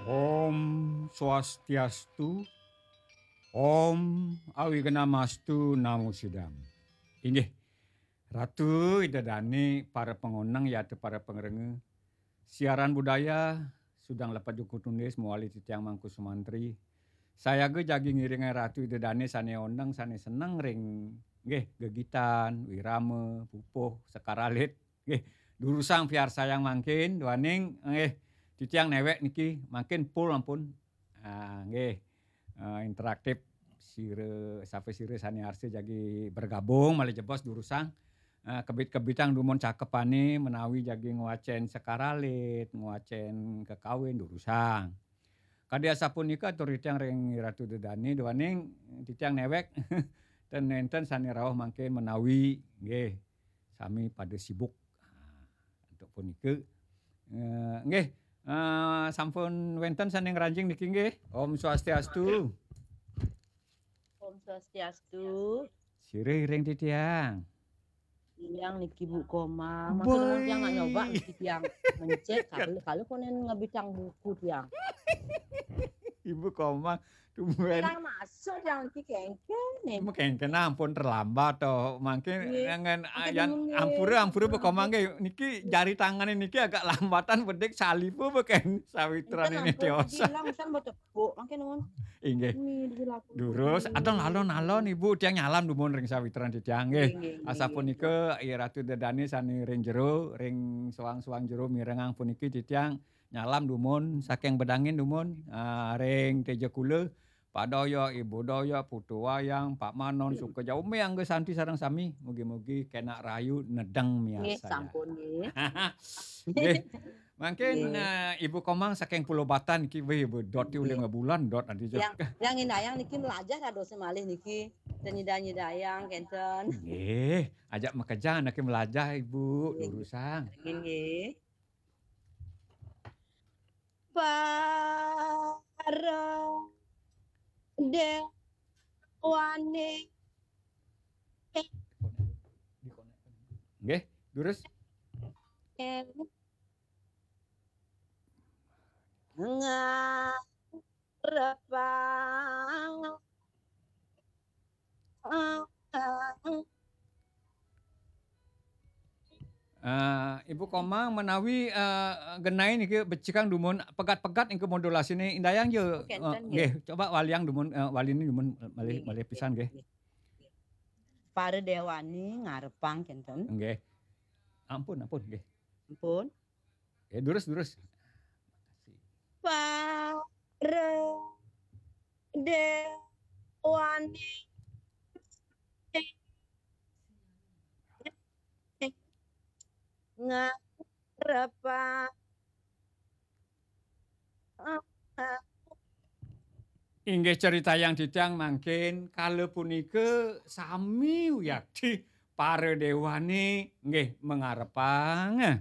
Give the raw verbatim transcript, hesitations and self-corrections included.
Om Swastiastu, Om Awignamastu Namo Sidam. Inggih, Ratu Ida Dane, para pangoneng yata para pangrengga. Siaran budaya, Sudang Lepat Jukut Nulis, mawali titiang Mangku Sumantri. Sayaga jagi ngiringang Ratu Ida Dane sane oneng, sane seneng ring, nggih, gegitan, wirama, pupuh, sekar alit. Nggih, durusang piarsayang mangkin, duaning, nggih, titiang newek niki, mangkin full ampun. Ah, nggih. Ah, interaktif sira, sapa sira sane arsa jagi bergabung, malih jebos durusang. Ah, kebit-kebitang dumun cakepane menawi jagi ngwacen sekar alit, ngwacen kekawin, durusang. Kadi asapunika atur titiang ring Ratu Ida Dane, duaning titiang newek ten nenten sane rauh mangkin menawi, nggih, sami pada sibuk. Ah, antuk punika, eh, nggih, eh, sampun wenten sane ngranjing niki nggih. Om Swastiastu. Om Swastiastu. Sira iring titiang. Titiang niki Bu Komang. Maka nuwun tiang nak nyoba niki tiang mencet. Kalau, kalau konen ngebitang buku tiang. Ibu Komang, tumben. Tiang masuk tiang niki kengken nih. Ibu kengken ampun terlambat to. Mangkin nggih. Ampun, ampura, ampura Bu Komang nggih. Niki jari tangane niki agak lambatan bedik salipu beken sawitran ini tios. Bilang san betul. Bu, mangke nuwun. Inggih. Durus, adang alon-alon Ibu tiang nyalam dumun ring sawitran titiang nggih. Nggih, nggih, nggih. Asapunika, iya Ratu Ida Dane sane ring jero, ring soang-soang jero mirengang puniki titiang nyalam dumun saking bedangin dumun, ah, ring Teja Kula, Pak Doyok, Ibu Doyok, Putu Wayang, Pak Manon, Suka Jaumi, Angga Santi sareng sami. Mugi-mugi kenak rahayu nedeng miarsayang. Nggih, sampun nggih. Nggih. Mangkin, nggih. Eh, Ibu Komang saking Pulau Batan niki, wih, Ibu, dot ulih nggih. Ngebulan, dot nanti. Yang, yang indayang niki melajah dados malih niki. Ten nyida-nyidayang kenten. Nggih, ajak makejang anake melajah, Ibu, nggih. Durusang. Nggih, nggih. Para dewane. Nggih, durus. Ngarepang. Eh, Ibu Komang menawi, eh, genah niki becikang dumun pegat-pegat niki modulasine indayang ya. Oh, kenten, eh, nggih. Nggih, coba waliang dumun, eh, waline dumun, eh, malih, nggih, malih pisan nggih, nggih. Nggih. Para dewane ngarepang kenten. Nggih. Ampun, ampun nggih. Ampun. Ya, durus, durus. Para dewane ngarepang. Inggih, critayang titiang mangkin, kala punika sami wiakti para dewane nggih mangarepang.